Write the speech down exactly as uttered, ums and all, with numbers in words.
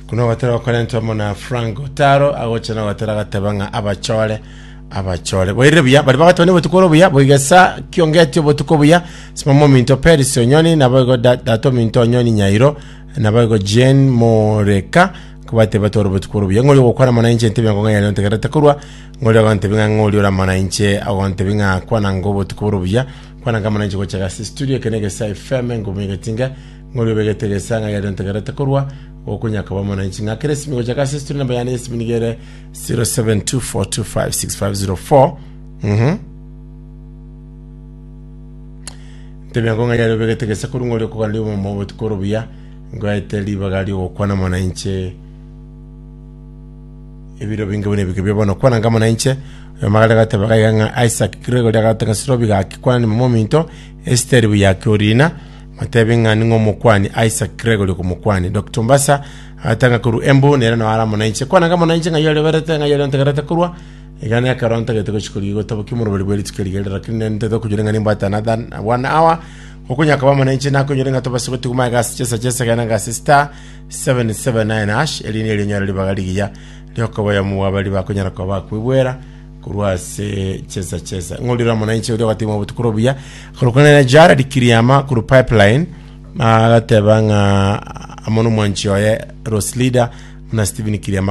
Kuna ogotera gokorentwa amo na Frank Otaro agocha na ogotera agateba ng'a abachore abachore boirire buya bari bagateba ni obotuko ore obuya boigesa kiongeti obotuko buya simama ominto Peris Onyoni naboigo da- tata ominto Onyoni Nyairo naboigo Jane Moreka kobateba tore obotuko ore obuya ng'ori ogokwana mono inche ntebe ng'o ng'ayare ntegerete korwa ng'ori ogontebia ng'a ng'ori ore amo na inche ogontebia ng'a kwana ngo obotuko bore obuya kwana ng'a amo na inche gocha ase studio eke na Egesa F M ngumi egetinga ng'ori obegete egesa ng'ayare ntegerete korwa gokonya koba amo na inche ng'akere esimi gocha ase studio namba yane esimi nigo ere zero seven two four two five six five zero four. Mhm ntebia ngo ng'ayare obegete egesa korwa ng'ori okogana omomo obotuko ore obuya ngoete ribaga riogokwana amo na inche ebiro binge buna ebike bia bono kwana ngamo na inche oyo magare gateba gaiga ng'a Isaac Gregory agateba Sirobi gaki kwana ni mama ominto Esther buyaki orina matebi ng'a ning'o omokwani Isaac Gregory okomokwani Doctor Mbasa agatanga korwa Embu nere no ara amo na inche kwana ngamo na inche ng'a yore berete ng'a yore ntegerete korwa iga nekero ntagete gochikori gotabokia omoroberi bwe rituko rigere lakini nentete okonyora ng'a nimbwate another one hour okonya koba amo na inche nakonyora ng'a tobase gotiguma egasi chesa chesa gena gasi star seven seven nine hash eri neri onyore ribaga rigiya riokoboya mubwabari bakonyara koba bakwibwera korwa ase chesa chesa ng'orire amo na inche oria ogatima obotuko obuya korokana na Jared Kiriama korwa Pipeline agateba ng'a amo nomwanchi oye Rose Leader na Stephen Kiriama.